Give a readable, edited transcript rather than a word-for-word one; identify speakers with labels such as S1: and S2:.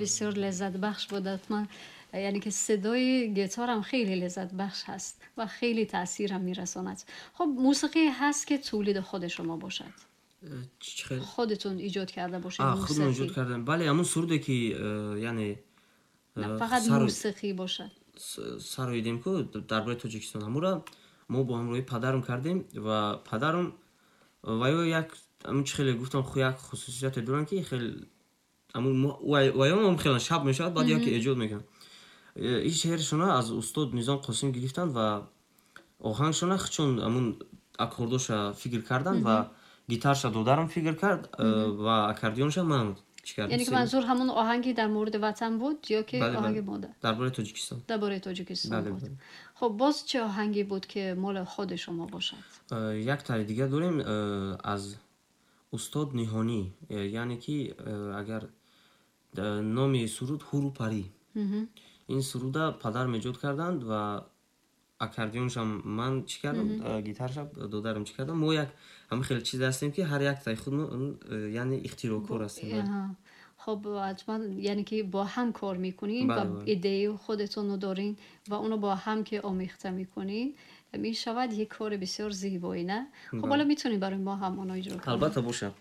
S1: Бисёр лаззатбахш буд. Ҳатман, яъне ки садои гитарам хеле лаззатбахш ҳаст ва хеле таъсирам мерасонад. Хуб, мусиқӣ ҳаст, ки тулиди худи шумо бошад?
S2: Чӣ хел?
S1: Худатон эҷод карда бошед?
S2: Худмон эҷод кардем, бале, ҳамун суруде ки яъне
S1: фақат мусиқӣ бошад.
S2: Сароидем ку дар бораи Тоҷикистон, ҳамура мо бо ҳамроҳи падарам кардем ва падарам ва ё як ҳамун чӣ хеле гуфтам, як хусусияте доранд, ки хел ваём хеле шаб мешавад, баъд яке эҷод мекунанд. Ин шеършона аз устод Низом Қосим гирифтанд ва оҳангшона чун ҳамун аккордоша фикр карданд ва гитарша додарам фикр кард ва аккордеонша ман.
S1: Яъне ки манзур ҳамун оҳанги дар мавриди ватан буд ё ки оҳанги модар?
S2: Дар бораи Тоҷикистон.
S1: Дар бораи Тоҷикистон буд. Хуб, боз чӣ оҳанге буд, ки моли худи шумо бошад?
S2: Як тари дигар дорем аз устод Ниҳонӣ, яъне ки агар номи суруд «Ҳуру парӣ». Ин суруда падарам эҷод карданд ва аккордеоншам ман чӣ кардам, гитарша додарам чӣ кардам. Мо як ҳамин хеле чиз ҳастем, ки ҳар як таи худмо, яъне ихтироъкор ҳастем.
S1: Хуб, ҳатман, яъне ки бо ҳам кор мекунин ва идеяи худатонро дорин ва онро бо ҳам ки омехта мекунин, мешавад як кори бисёр зебоӣ, не? Хуб, ҳоло метавонед барои мо ҳам онро иҷро кунед?
S2: Албатта, бошад.